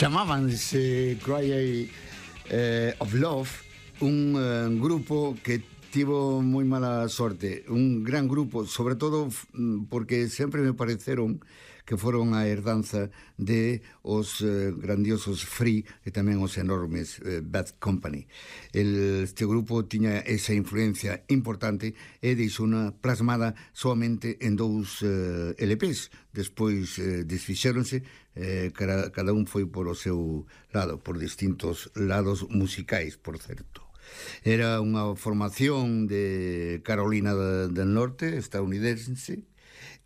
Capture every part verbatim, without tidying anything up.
Chamábanse Cry eh, of Love, un eh, grupo que tivo moi mala sorte, un gran grupo, sobre todo porque sempre me pareceron que foron a herdanza de os eh, grandiosos Free e tamén os enormes eh, Bad Company. El, este grupo tiña esa influencia importante e deixona plasmada solamente en dous eh, L Ps. Despois eh, desfixéronse, eh, cada, cada un foi por o seu lado, por distintos lados musicais, por certo. Era unha formación de Carolina del Norte, estadounidense,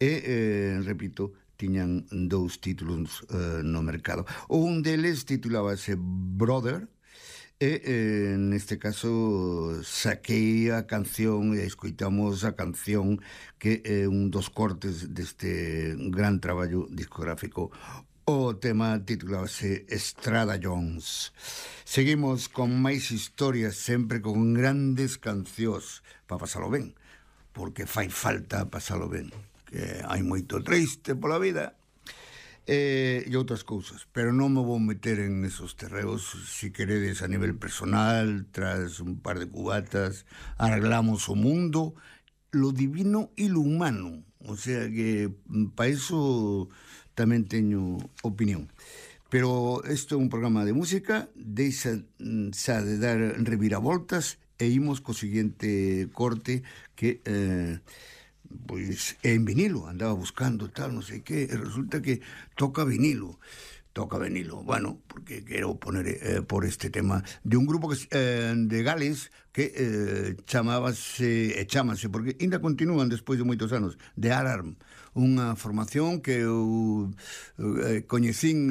e, eh, repito, tiñan dous títulos eh, no mercado. Un deles titulábase Brother, e eh, neste caso saquei a canción e escoitamos a canción que é un dos cortes deste gran traballo discográfico. O tema titulábase Estrada Jones. Seguimos con máis historias, sempre con grandes cancións para pasalo ben, porque fai falta pasalo ben, que hai moito triste pola vida e, e outras cousas, pero non me vou meter en esos terreos. Si queredes a nivel personal, tras un par de cubatas arreglamos o mundo, lo divino e lo humano, o sea que para iso tamén teño opinión. Pero isto é un programa de música, deixa xa de dar reviravoltas e imos co seguinte corte que eh, pois é en vinilo, andaba buscando tal, non sei que, e resulta que toca vinilo. Toca vinilo, bueno, porque quero poner eh, por este tema de un grupo que, eh, de Gales que eh, chamábase, e chámase, porque ainda continúan despois de moitos anos, The Alarm, unha formación que eu eh, coñecín